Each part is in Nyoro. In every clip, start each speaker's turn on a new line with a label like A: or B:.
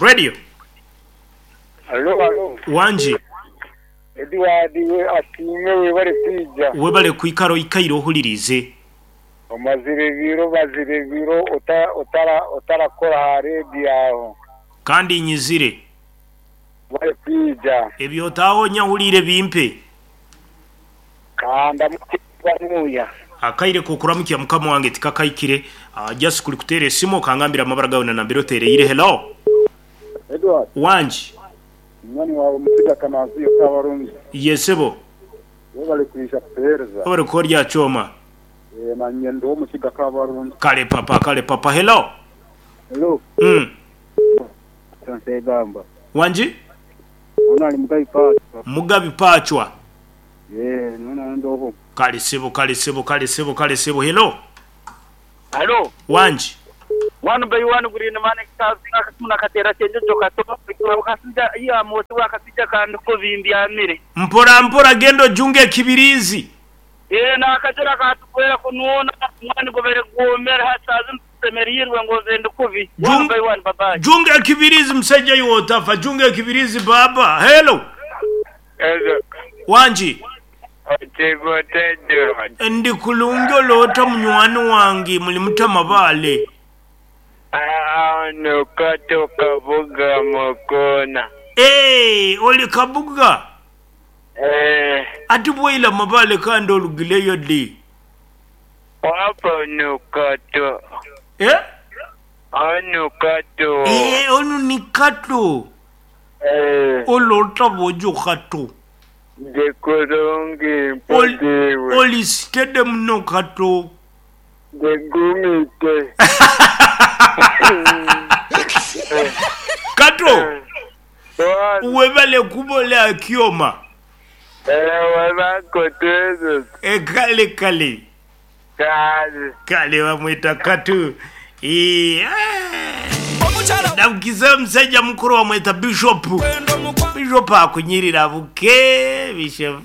A: Radio.
B: Halo, halo.
A: Wangi.
B: Edward we asiime webale kwija.
A: Webale kwikara oikaire ohuliriize.
B: Omazire ebiro omazire ebiro otarakora aha rediyo aho.
A: Kandi nyizire.
B: Webale kwija.
A: Ebyotaaho nyahuliire bimpe.
B: Ka ndamukye banuya.
A: Akaire k'okuramukya mukama wange tikakaikire. Just kuli kuteera esimu okangambira amabara gawe na nambere oteereire. Hello.
B: Edward.
A: Wangi.
B: Munywani wawe Musiga Kanansiyo Kabarungi.
A: Ye sebo.
B: Webale kwija kutuhereza.
A: Webale kukorya kyoma.
B: Eeh nanye ndi owomukiga Kabarungi.
A: Kale papa kale papa. Hello.
B: Hello.
A: Mm.
B: Nsegamba.
A: Wangi?
B: Ono ali Mugabi Pachwa.
A: Mugabi Pachwa.
B: Eeh nyowe ndi oho.
A: Kale sebo kale sebo kale sebo kale sebo. Hello.
C: Halo.
A: Wangi?
C: One by one green man kazinga akasimu nakateera kyenjojo kato akasija iya mwosi akasija kandi kubi mbyamire.
A: Mpora mpora genda ojunge ekibiriizi.
C: Eeh nakajira katukwera kunuuna omwani gubaire gwomere hati saaha zinu tusemeriirwe ngu nze ndi kubi. One by one bye bye.
A: Junga ekibiriizi musaija iwe otafa junga ekibiriizi baaba. Hello.
B: Hello.
A: Wangi.
B: Otiiba ota Edward?
A: Ndi kulungi ole ota munywani wange muli muta Mabaale?
B: Ano Kato Kabuga Mukoona.
A: Eeh oli Kabuga?
B: Eeh.
A: Ati bwaila Mabaale kandi olugileyo di?
B: Wapa ono Kato.
A: Eh?
B: Ono Kato.
A: Eeh ono ni Kato.
B: Eeh.
A: Ole ota bwojo Kato?
B: Ndi kulungi mpozi iwe.
A: Oli sitede muno Kato.
B: Ndi gumite.
A: Kato, webale kuba ole akyoma. E kale kale. Kale bamweta Kato. Eeh. Nabukiza omusaija mukuru bamweta Bishop. Bishop akunyirira buke. Bishop.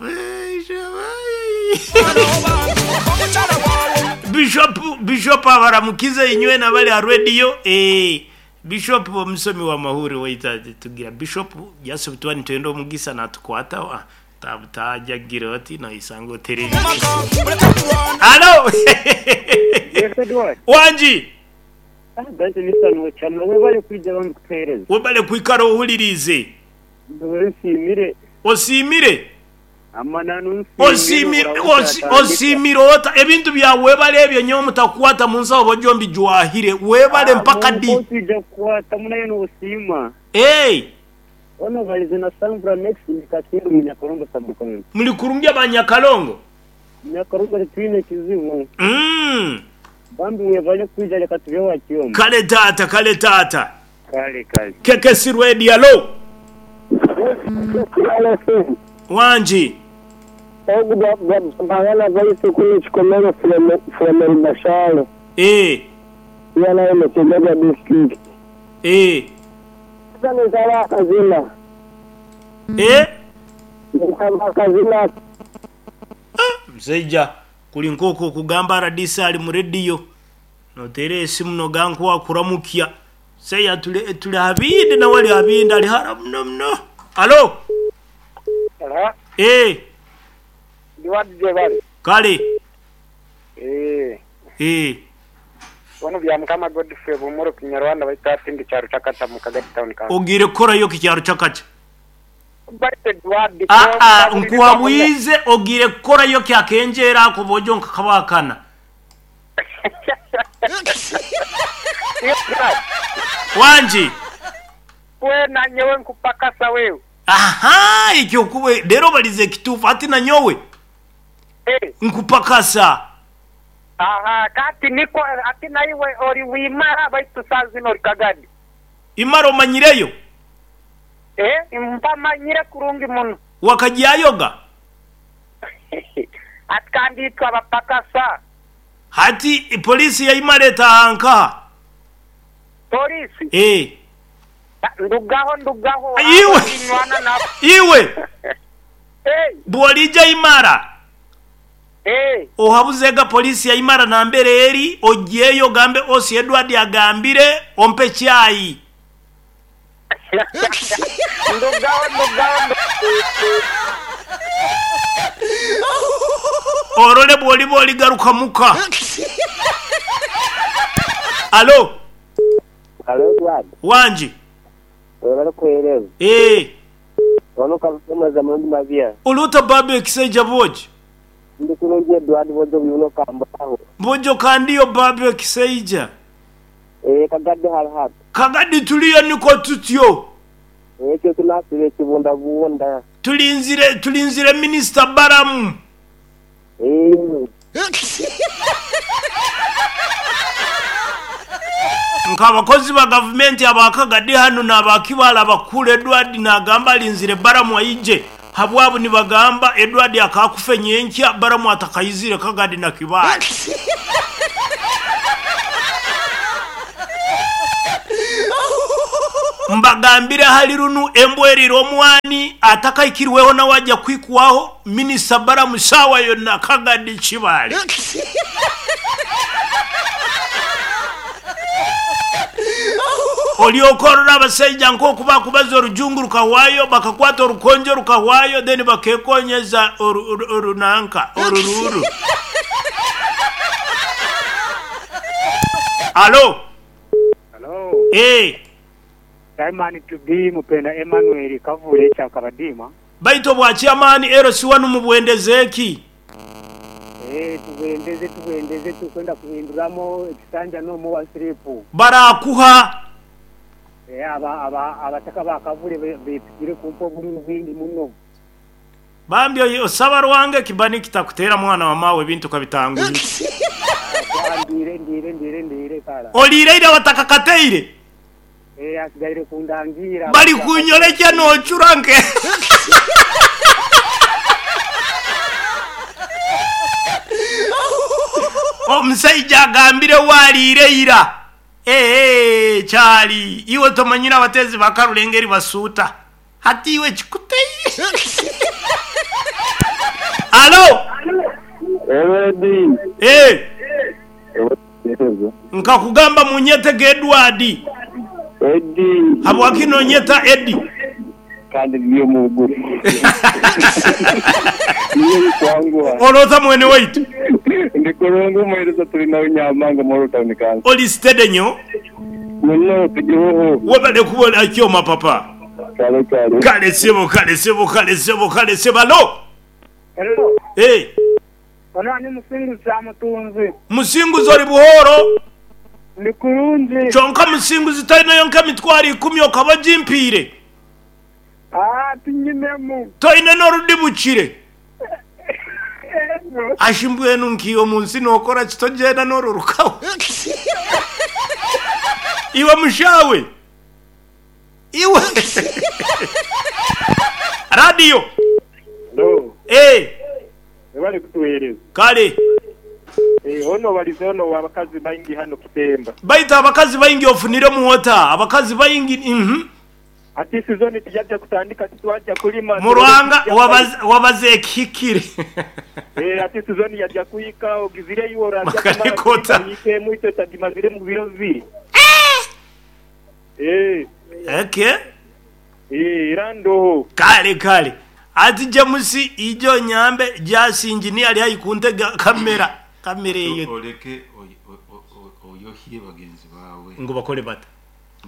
A: Bishop Bishop abaramukize inywe nabali ha radio. Eeh. Bishop omusomi wa mahuri waita tugira Bishop just tuba nitwenda omugisa natukwata wa tajagira oti noisanga otereire. Halo.
D: Yes, Edward.
A: Wangi.
D: Baitu nisano cyane webale kwija bambi kutuhereza.
A: Webale kwikara ohuliriize.
D: Ndowe nsiimire.
A: Osiimire?
D: Amananu
A: nsiimire. Osiimire ota? Ebintu bya webale ebyo nyowe mutakukwata mu nsawo bojo mbijwahire. Webale mpaka di?
D: Otwija kukwata munayo nosiima.
A: Eeh.
D: Ono balize na Sambura next ndi Kakindu mu Nyakalongo sub county.
A: Muli kurungi aba Nyakalongo?
D: Nyakalongo titwine kizibu.
A: Mm.
D: Bambi webale kwija leka tube wakyoma.
A: Kale taata kale taata.
D: Kale kale.
A: KKC Radio alo. Wangi.
E: Ogu baganda baitu kunu Kikomero from Rubashale.
A: Eeh.
E: Iya nayo mu Kigoga district.
A: Eeh.
E: Ninsaba akazina.
A: Eeh.
E: Ninsaba akazina.
A: Musaija kuli nk'okwo okugamba rdc ali mu rediyo noteera esimu noga nkuwakuramukya. Seya tuli tuli habindi nawe ali habindi ali hara muno muno. Alo.
B: Hello.
A: Eeh.
B: Ndi wadi gyebale.
A: Kale.
B: Eeh.
A: Eeh.
B: Ono Byamukama Godfrey Bumuro Kinyarwanda baitu hati ndi kyaro Chakacha mu Kagadi Town Council.
A: Ogiire kukorayo ki kyaro Chakacha?
B: Baitu Edward
A: Aa nkuhabwize ogiire kukorayo ki akenjeera ako bwojo nkakabakana? Wangi.
B: Weena nyowe nkupakasa wewe.
A: Ahaa ekyo kube leero obalize ekituufu hati nanyowe nkupakasa.
B: Ahaa kati nikwo hati naiwe ori Wimara baitu saaha zinu ori Kagadi.
A: Imara omanyireyo?
B: Eeh mpamanyire kurungi muno.
A: Wakagyayoga?
B: Hati kandi itwe abapakasa.
A: Hati poliisi ya Imara etaaha nkaha?
B: Poliisi?
A: Eeh.
B: Ndugaho ndugaho
A: Iwe!
B: abo tinywana nabo.
A: Iwe!
B: Eeh.
A: Bw'oliija Imara,
B: Eeh.
A: ohabuzega poliisi ya Imara nambere eri, ogyeyo ogambe OC Edward agambire ompe chai.
B: Ndugaho ndugaho.
A: Orole bw'oliba oligaruka muka. Alo,
D: Alo Edward,
A: wangi.
D: webale kuweereza.
A: Eeh.
D: Ono kalusomaza murundi mabya.
A: Oluta baabi ekisaija bwogi.
D: Ndi kulungi Edward bwojo buyuno kambaho.
A: Bwojo kandiyo baabi ekisaija.
D: Kagadde hali hati.
A: Kagadi tuliyo niko tutyo.
D: Ekyo tunasire ekibundabunda.
A: Tulinzire tulinzire minisita Balamu. Nk'abakozi ba gavumenti aba Kagadi hanu n'aba Kibaale abakuru Edward naagamba alinzire Balamu aije. Habwabu nibagamba Edward akaakufa nyenkya Balamu atakaizire Kagadi na Kibaale. Mbagambire hali runu embwa erire omwani atakaikirweho nawe ajja kwikwaho minisita Balamu saawa yonna Kagadi Kibaale. Olyokorora abasaija nk'oku bakubaza orujungu rukahwayo bakakwata orukonjo rukahwayo then bakekonyeza orunanka orururu. Alo.
F: Hello.
A: Eh.
F: Simon to be Mupenda Emmanuel Kavule cha Kabadima.
A: Baito bwa chairman LC1 mubwendeze ki?
F: Tubwendeze tubwendeze tukwenda kuhinduramo ekisanja no wa siripu.
A: Barakuha.
F: Aba aba abataka ba Kavule bepikire kumpa obululu bwingi muno.
A: Bambi osaba rwange kibani kitakutera mwana wa mawe bintu kabitanguye.
F: Ndire ndire ndire ndire kala.
A: Olireire watakakateire.
F: Asigaire kundangira.
A: Bali kunyolecha nochuranke. Omusaija agambire waliireira. Kyali iwe tomanyire abatezi bakarulengeri basuuta. Hati iwe kikuteire. Alo.
D: Edi.
A: Nkakugamba munyete Edward.
D: Edi.
A: Habwaki nonyeta Edi?
D: Kandi ndiyo mugu. Niyo kwangu.
A: Olota mwene waitu.
D: Ndikurungu mwereza tuli nawe Nyamanga Moro Town Council.
A: Oli steady nyo?
D: Muno tugihoho.
A: Webale kubona kyoma papa.
D: Kale kale.
A: Kale sebo kale sebo kale sebo kale sebo. Alo.
F: Hello.
A: Eh.
F: Ono ni musinguzi amutunzi.
A: Musinguzi oli buhoro.
F: Ndi kurungi.
A: Kyonka musinguzi talina yonka emitwaro 10 okaba gimpiire.
F: Tinyinemu.
A: Toine n'orudibukire. Ashimbwenu nkiyo munsi nokora kitogenda n'orurukaho. Iwe mushawe. Iwe. Radio.
F: Hello.
A: Eh.
F: Bali kutuhereza.
A: Kale.
F: Ono balize ono abakazi baingi hano Kitemba.
A: Baita abakazi baingi ofunire muwota. Abakazi baingi
F: Ati sizoni tijajja kutandika titwajja kulima.
A: Murwanga wabaze ekikire.
F: Ati sizoni yajja kuyika ogizire iwo raja
A: Makarikota.
F: Yike mwito tagimazire mu biro bibiri.
A: Okay.
F: Irando.
A: Kale kale. Ati James ijo nyambe jasi engineer ali ayikunte kamera. Kamera eyo.
G: Oleke oyohie bagenzi bawe.
A: Ngo bakole bata.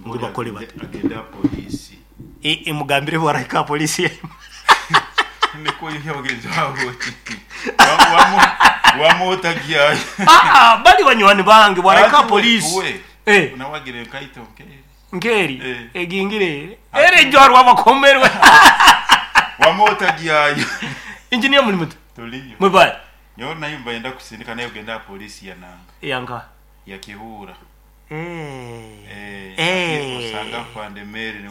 A: Ngo bakole bata.
G: Agenda polisi.
A: Imugambire bwaraka polisi.
G: Niko yohie bagenzi bawe. Wamuotagia.
A: Bali banywani bange bwaraka polisi.
G: Unawagire kaito nkeri.
A: Nkeri. Egingire. Ere jwarwa bakomerwe.
G: Wamuotagia.
A: Engineer muri muto.
G: Tuliyo.
A: Mwe
G: Nyo nayo mbaenda kusindika nayo genda polisi ya nanga.
A: Yanga.
G: Ya Kihura. Osanga fande Mary ni.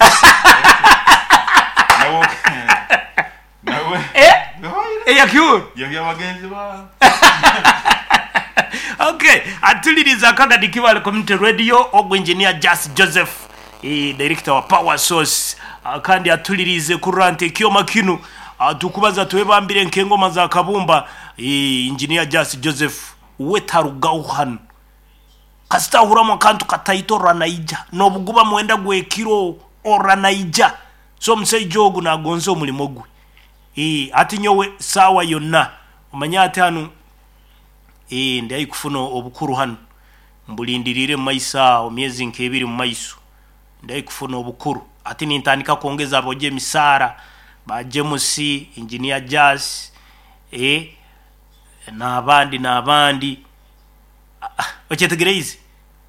G: Nawo. Nawe.
A: Ya Kihura.
G: Ya bagenzi ba.
A: Okay, atuliriza Kagadi Kibaale Community Radio ogwo engineer Jas Joseph, director wa Power Source, kandi atulirize kurante ekyoma kinu. Tukubaza tuwebambire nkengoma za kabumba. Engineer Jas Joseph wetarugaho hano. Kasita huramo kantu kataitorwa naija nobuguba mwenda gwekiro Ora naija. So omusaija ogu nagonza omulimo gwe. Hati nyowe saawa yonna omanye ati hanu ndi haihi kufuna obukuru hanu, mbulindiriire mu maiso aho myezi nk'ebiri mu maiso, ndi haihi kufuna obukuru. Hati nintandika kwongeza aboojo emisaara, ba James, Engineer Jas, n'abandi n'abandi. Okyetegereize?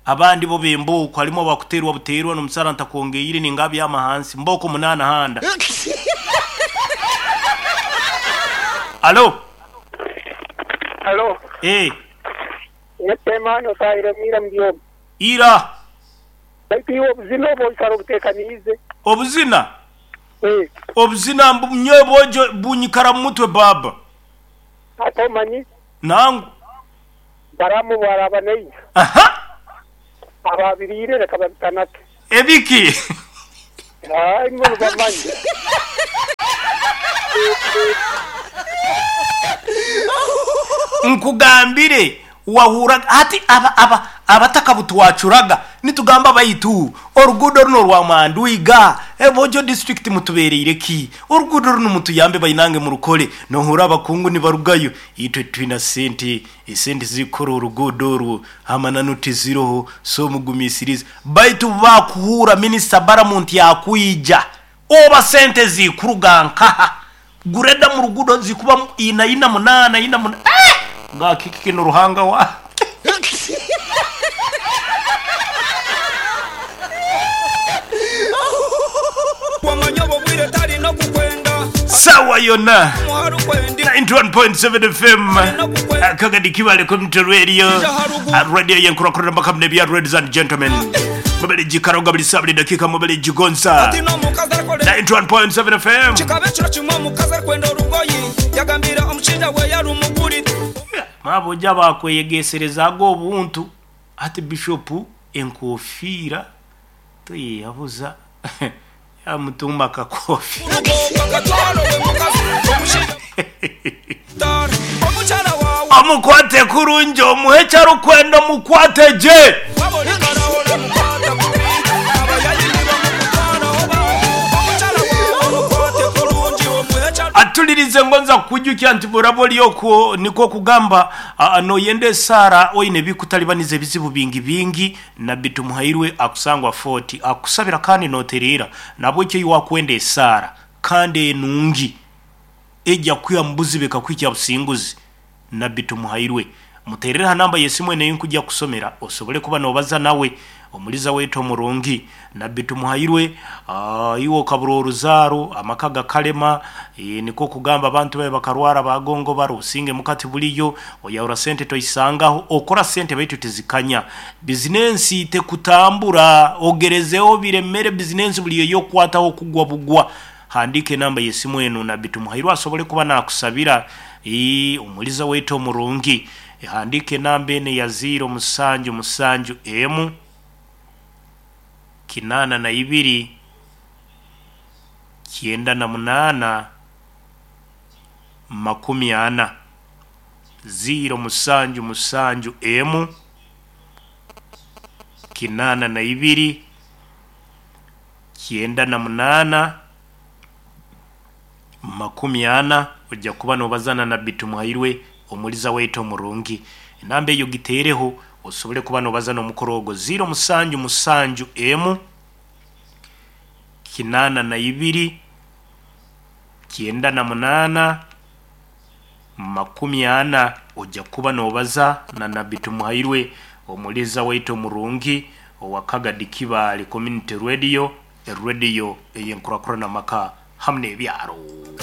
A: Abandi bo b'embooko harimu abakuteerwa buteerwa n'omusaara ntakwongeire ninga abyama hansi mbooko munaana handa. Alo?
B: Alo. Emani otahiremu ira muri omu.
A: Ira.
B: Baitu iwe obuzina obu oikara obuteekaniize.
A: Obuzina? Obuzina nyowe bwojo bunyikara mu mutwe baaba.
B: Hati omanyi?
A: Nangwa.
B: Baramu obu araaba naija.
A: Aha!
B: Abaabiriire leka babitanake.
A: Ebiki?
B: Imwe nibamanya.
A: Nkugambire wahurraga hati aba aba abatakabutwacuraga nitugamba baitu oruguudo runo orwa Mandwiga Bojo district mutubereire ki? Oruguudo runu mutuyambe bainange murukole. Nohurra abakungu nibarugayo itwe titwina sente, esente zikukora oruguudo orwo amananu tiziroho so mugumisirize. Baitu obubakuhuura minisita Baramu nti akwija oba sente zikuruga nkaha? Gureda mu ruguudo zikuba ina ina munaana ina munaana eh! Nga kiki kinu Ruhanga wange? Sawa yona 91.7 FM Kagadi Kibale Community Radio, radio yenkurakurana mpaka mnebya. Ladies and gentlemen, mubali jikaroga buli saa buli dakika mubali jigonza 91.7 FM.
H: Kikaba ekiro kimwe omukazi arikwenda orugoyi yagambira omushaija we yarumugurira.
A: Maboja bakweyegeserezaaga obuntu hati Bishop enkofiira toyeyabuza yamutumba akakofiira. Omukwate kurungi omuhe eki arikwenda omukwate gye. Atulirize ngonza kukwijukya nti bworaba ori okwo nikwo kugamba noyenda esaara oine ebikutalibaniza ebizibu bingi bingi Nabbi Tumuhairwe akusangwa Fort akukusabira kandi notereera nahabwekyo iwe wakwenda esaara kandi enungi eja kukwiha mu buzibu ekakuhikya businguzi. Nabbi Tumuhairwe muterere ha namba y'esimu enu eyinkuja kukusomera osobole kuba nobaza nawe. Omuliza waitu omurungi Nabbi Tumuhairwe, iwe okabura oruzaaro, amaka gakalema, nikwo kugamba abantu bawe bakarwara bagongobara, obusinge muka tibuliyo, oyahura sente toisangaho, okora sente baitu tizikanya, bizinensi tekutambura, ogerezeho biremere bizinensi buli eyokukwataho kugwa bugwa. Handiika enamba y'esimu enu Nabbi Tumuhairwe asobole kuba nakusabira. Omuliza waitu omurungi, handiika enamba enu eya ziiro musanju musanju emu kinaana na ibiri kyenda na munaana makumi ana. Ziiro musanju musanju emu kinaana na ibiri kyenda na munaana makumi ana. Oija kuba nobaza na Nabbi Tumuhairwe omuliza waitu omurungi. Enamba eyo giteereho osobole kuba nobaza n'omukoro ogwo ziiro musanju musanju emu kinaana na ibiri kyenda na munaana makumi ana. Oija kuba nobaza na Nabbi Tumuhairwe omuliza waitu omurungi owa Kagadi Kibaale Community Radio, erediyo ey'enkurakurana amaka hamu n'ebyaro.